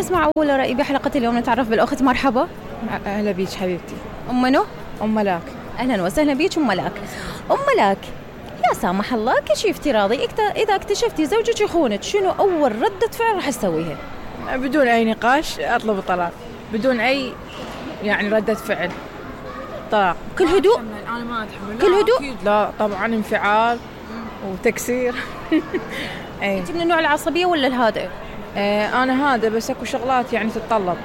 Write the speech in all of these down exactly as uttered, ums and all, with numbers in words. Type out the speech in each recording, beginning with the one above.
نسمع أول رأي بحلقة اليوم. نتعرف بالأخت. مرحبا. أهلا بيك حبيبتي. أم منو؟ أم ملاك. أهلا وسهلا بيك أم ملاك. أم ملاك، يا سامح الله كشي افتراضي إذا اكتشفتي زوجك يخونك، شنو أول ردة فعل راح تسويها؟ بدون أي نقاش أطلب الطلاق، بدون أي يعني ردة فعل، طلاق كل هدوء. أنا ما أتحمل. كل هدوء؟ أكيد لا طبعا، انفعال وتكسير. أي. أنت من النوع العصبية ولا الهادئ؟ ايه أنا هذا، بس أكو شغلات يعني تتطلب،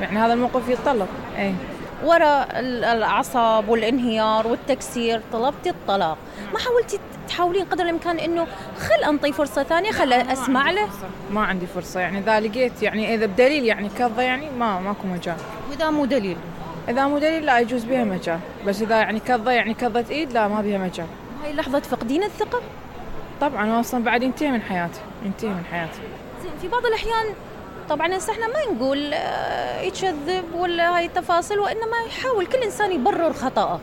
يعني هذا الموقف يتطلب. ايه وراء العصب والانهيار والتكسير طلبتي الطلاق، ما حاولتي تحاولين قدر الإمكان إنه خل أنطي فرصة ثانية، خل أسمع له؟ ما عندي فرصة يعني، إذا لقيت يعني إذا بدليل يعني كذا يعني ما ماكو مجال. وإذا مو دليل؟ إذا مو دليل لا يجوز بها مجال، بس إذا يعني كذا يعني كذا إيد لا ما بها مجال. هاي لحظة فقدين الثقة؟ طبعا أصلا بعد ينتهي من حياتي، ينتهي من حياتي. زين، في بعض الأحيان طبعا هسه احنا ما نقول يكذب ولا هاي التفاصيل، وإنما يحاول كل إنسان يبرر خطأه.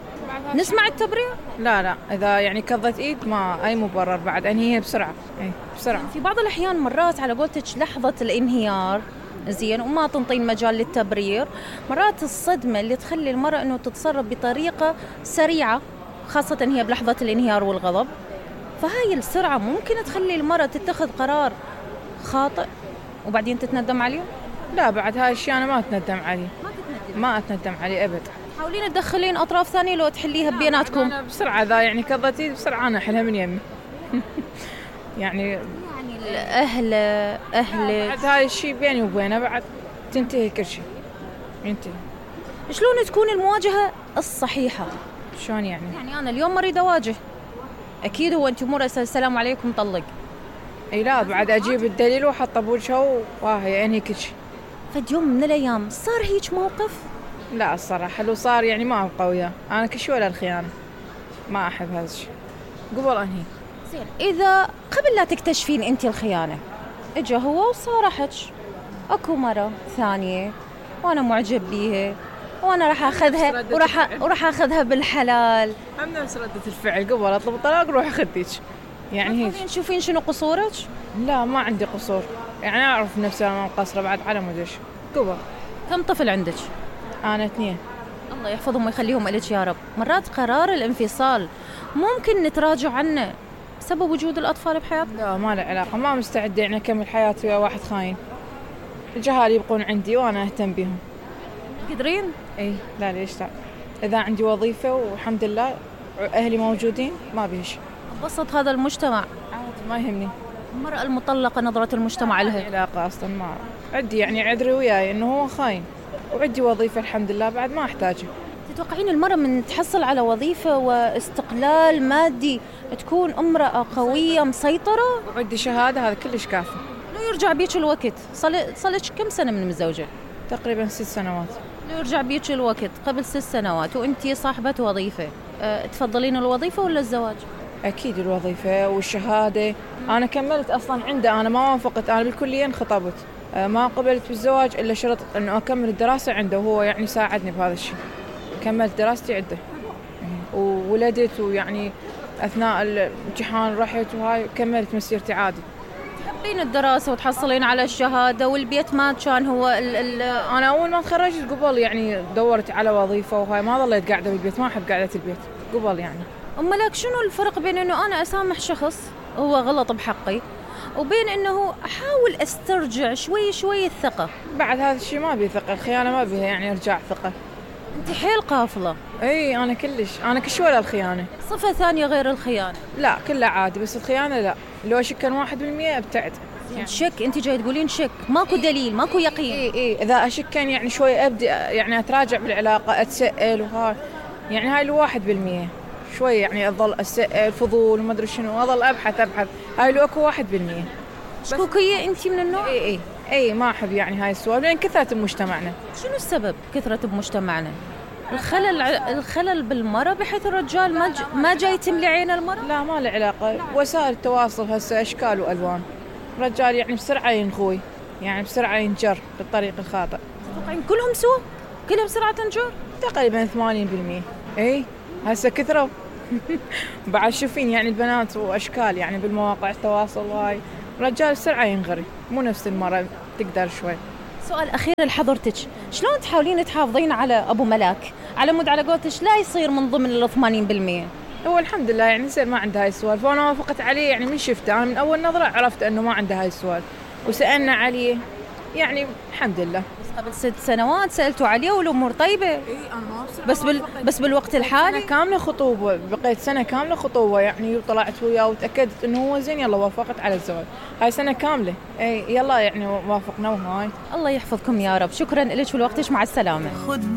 نسمع التبرير؟ لا لا، إذا يعني كضت إيد ما أي مبرر، بعد أنهيها بسرعة. أي بسرعة. في بعض الأحيان مرات على قولتك لحظة الانهيار زين وما تنطين مجال للتبرير، مرات الصدمة اللي تخلي المرأة إنه تتصرف بطريقة سريعة، خاصة هي بلحظة الانهيار والغضب، فهاي السرعة ممكن تخلي المرأة تتخذ قرار خاطئ وبعدين تتندم عليه؟ لا، بعد هاي الشيء أنا ما أتندم عليه. ما تتندم؟ ما أتندم عليه أبد. حاولين تدخلين أطراف ثانية لو تحليها بيناتكم. أنا بسرعة ذا يعني كضتي بسرعة أنا أحلها من يمي. يعني يعني الأهل أهل بعد هاي الشيء بيني وبينه بعد تنتهي كل شيء، ينتهي. شلون تكون المواجهة الصحيحة؟ شلون يعني؟ يعني أنا اليوم مريد أواجه، أكيد هو أنت مو السلام عليكم طلق. اي لا، بعد اجيب الدليل واحطه بوجهه وهي انهي كل شيء. فد يوم من الايام صار هيك موقف؟ لا الصراحه لو صار يعني ما ابقى وياه، انا كشي ولا الخيانه، ما احب هذا الشيء، قبل انهي. زين، اذا قبل لا تكتشفين انت الخيانه اجا هو وصارحك اكو مره ثانيه وانا معجب بيها وانا راح اخذها وراح وراح اخذها بالحلال، هم نفس رده الفعل، قبل اطلب الطلاق روح اخذيك يعني هيك. تشوفين شنو قصورك؟ لا ما عندي قصور، يعني أعرف نفسي أنا مقصرة بعد على مدش. قبل. كم طفل عندك؟ أنا اثنين. الله يحفظهم ويخليهم لك يا رب. مرات قرار الانفصال ممكن نتراجع عنه بسبب وجود الأطفال بحياتنا؟ لا ما له علاقة، ما مستعدة يعني أكمل حياتي ويا واحد خاين. الجهال يبقون عندي وأنا أهتم بهم. قدرين؟ إيه لا ليش لا، إذا عندي وظيفة والحمد لله أهلي موجودين ما بيش. بسط هذا المجتمع عادي ما يهمني. المرأة المطلقة نظرة المجتمع لها؟ علاقة أصلا ما عندي، يعني عذري وياي إنه هو خاين وعندي وظيفة الحمد لله بعد ما أحتاجه. تتوقعين المرأة من تحصل على وظيفة واستقلال مادي تكون امرأة قوية مسيطرة؟ وعندي شهادة هذا كلش كافي. لو يرجع بيك الوقت، صلك كم سنة من مزوجة؟ تقريبا ست سنوات. لو يرجع بيك الوقت قبل ست سنوات وانتي صاحبة وظيفة، أه تفضلين الوظيفة ولا الزواج؟ أكيد الوظيفة والشهادة. أنا كملت أصلا عنده، أنا ما وافقت، أنا بالكلية انخطبت، أه ما قبلت بالزواج إلا شرط أنه أكمل الدراسة عنده، وهو يعني ساعدني بهذا الشيء. كملت دراستي عنده وولدت، ويعني أثناء الامتحان رحت وهاي كملت مسيرتي عادي. تحبين الدراسة وتحصلين على الشهادة والبيت ما كان هو ال ال أنا أول ما تخرجت قبل يعني دورت على وظيفة وهاي، ما ظليت قاعدة بالبيت، ما أحب قاعدة البيت قبل يعني. أما لك شنو الفرق بين إنه أنا أسامح شخص هو غلط بحقي وبين إنه أحاول أسترجع شوي شوي الثقة؟ بعد هذا الشيء ما بيه ثقة، الخيانة ما بيها يعني إرجاع ثقة. أنت حيل قافلة. اي انا كلش، انا كش ولا الخيانه. صفه ثانيه غير الخيانه؟ لا كلها عادي، بس الخيانه لا، لو اشك واحد بالمية ابتعد. يعني شك، انت جاي تقولين شك، ماكو دليل ماكو يقين. اي اي اذا اشك يعني شوي ابدي يعني اتراجع بالعلاقه، اتسأل وهاي، يعني هاي الواحد بالمية شوي يعني اظل اسأل فضول وما ادري شنو، اظل ابحث ابحث، هاي لو اكو واحد بالمية. شكوكيه انت من النوع؟ اي اي اي ما احب يعني هاي السوالف لان كثرت بمجتمعنا. شنو السبب كثرت بمجتمعنا؟ الخلل الخلل بالمرأة بحيث الرجال ما ج... ما جاي تملي عين المرأة؟ لا ما له علاقة، وسائل التواصل هسه أشكال وألوان، الرجال يعني بسرعة ينخوي، يعني بسرعة ينجر بالطريق الخاطئ. تتوقعين كلهم سوا؟ كلهم بسرعة تنجر؟ تقريبا ثمانين بالمية. اي هسه كثروا. بعد شوفين يعني البنات وأشكال يعني بالمواقع التواصل وهاي، الرجال بسرعة ينغري، مو نفس المرأة تقدر شوي. سؤال أخير لحضرتك، شلون تحاولين تحافظين على أبو ملاك على مود على قولتك لا يصير من ضمن ال ثمانين بالمئة؟ هو الحمد لله يعني يصير ما عنده هاي السوالف، وأنا وافقت عليه يعني من شفته، أنا من أول نظرة عرفت إنه ما عنده هاي السوالف، وسألنا عليه يعني الحمد لله. بس قبل ست سنوات سألتوا عليه والأمور طيبة. إي أنا ما بس بال... بس بالوقت الحالي سنة كاملة خطوبة، بقيت سنة كاملة خطوبة يعني، وطلعت وياه وتأكدت إنه هو زين، يلا وافقت على الزواج. هاي سنة كاملة، إي يلا يعني وافقنا وهاي. الله يحفظكم يا رب. شكرا لك ولوقتك، مع السلامة.